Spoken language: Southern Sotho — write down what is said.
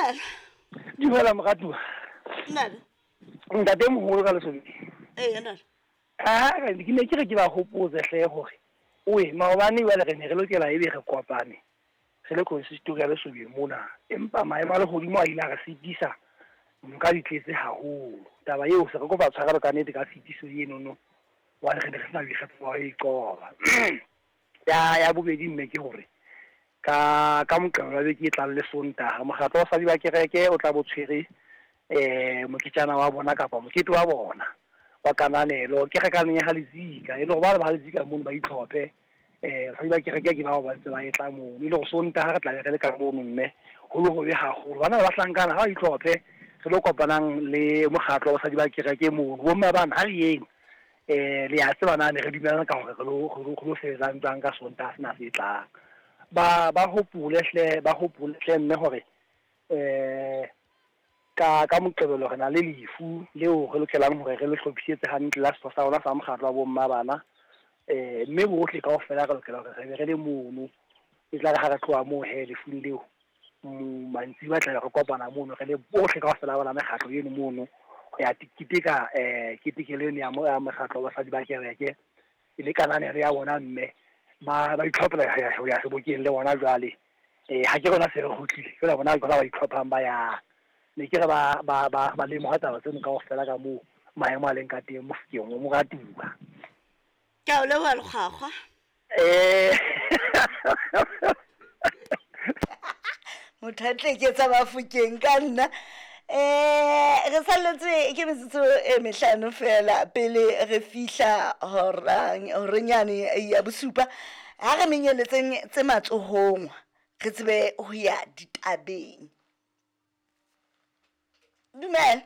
Dumela. Dumela moratuwa. Ntate. Ntate moholo ka lesobeng. Ee, ntate. Ah, ke ne ke re ke ba hopotse hle hore oe maobane jwale re ne re lokela ebe re kopane re le consistory ya Lesobeng mona, empa maemo a lehodimo a ile a re sitisa, noka di tletse haholo. Taba eo se re kopa tshwarelo ka nnete ka tshitiso enono, hobane re ne re sena boikgetho ba ho e qoba. Ya ya bobedi mme ke hore ka ka Moqebelo wa beke e tlang le Sontaha, mokgatlo wa basadi ba kereke o tla bo tshwere moketjana wa bona kapa mokete wa bona wa kananelo kerekaneng ya ha Letsika, e le hore ba le ba ha Letsika mono ba itlhophe. Basadi ba kereke ke bao ba ntse ba etla mono, e le hore Sontaha re tla be re le ka mono mme ho le hobe haholo. Bana ba bahlankana ha ba itlhophe re lo kopanang le mokgatlo wa basadi ba kereke mono. Bomme bana ha re yeng le ya tseba na ne re dumellana ka hore re lo re lo sebetsang jwang ka Sontaha sena se tlang. Ba ba hopole hle ba hopole hle mme hore Ka ka Moqebelo re na le lefu leo re lokelang hore re le hlophisetse hantle la setho sa rona sa mokgatlo wa bomma bana. Mme bohle kaofela re lokela hore re be re le mono. E tla re ha re tloha moo he lefung leo, mantsibuya tla be re kopana mono re le bohle kaofela ba mekgatlo eno mono ho ya keteka ketekelo eno ya ya mokgatlo wa basadi ba kereke e le kananelo ya bona mme ba ba itlhophela ho ya sebokeng le bona jwale. Ee, ha ke rona se re kgutlile jwale bona ke bona ba itlhophang ba yang. Ne ke re ba ba ba ba lemoha taba tseno kaofela ka moo maemo a leng ka teng Mofokeng o moratuwa. Ke a o leboha Lekgwakgwa. Motho a tleketsa Bafokeng ka nna. Re salletswe ke metsotso e mehlano fela pele re fihla horang horenyane ya bosupa. Ha re menyeletseng tse matsohong re tsebe ho ya ditabeng. Dumela.